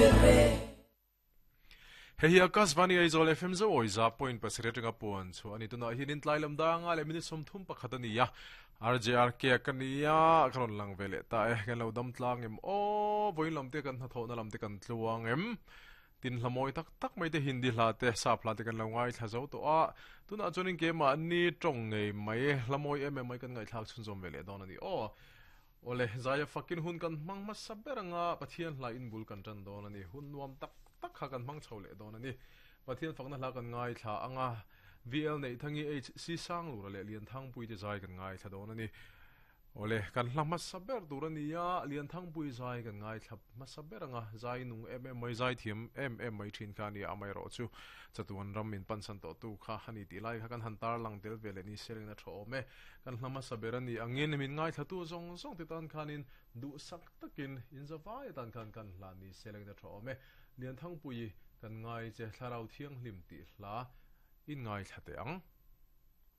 ber e. Hei hi Akashvani Aizawl FM zo awi za point pasarih atanga puan chhuah a ni. Tunah hianin tlai lam danga leh minute 31 a ni a. RJRK ka ni a, ka rawn lang ve leh ta e. Kan lo dam tlang em aw, vawiin lam te kan hnathawhna lam te kan tluang em. Tin hla mawi tak tak mai te Hindi hla te, Sap hla te kan lo ngaithla zo tawh a. Tunah chuanin keimahni tawng ngei mai, hla mawi em em mai kan ngaihthlak chhunzawm ve leh dawn a ni aw. Awle, Zaia fakin hun kan hmang hmasa ber anga Pathian hla in bul kan tan dawn a ni. Hun nuam tak tak kha kan hmang chho leh dawn a ni. Pathian fakna hla kan ngaithla anga VL Neihtangi HC Sanglura leh Lianthangpui te zai kan ngaithla dawn a ni. Awle, kan hla hmasa ber tur a ni a, Lianthangpui zai kan ngaithla hmasa ber anga zai nung em em mai, zai thiam em em mai thin kha a ni a, amaherawh chu chatuan ram min pansan tawhtu kha a ni tih lai kha kan han tarlang tel ve leh ni se ringna tha awm e. Kan hla hmasa ber a ni angin min ngaithlatu zawng zawng te tan khanin duhsak takin inzavai atan khan kan hla ni se lengin a tha awm e. Lianthangpui kan ngai che Thlarau Thianghlim tih hla in ngaithla teh ang.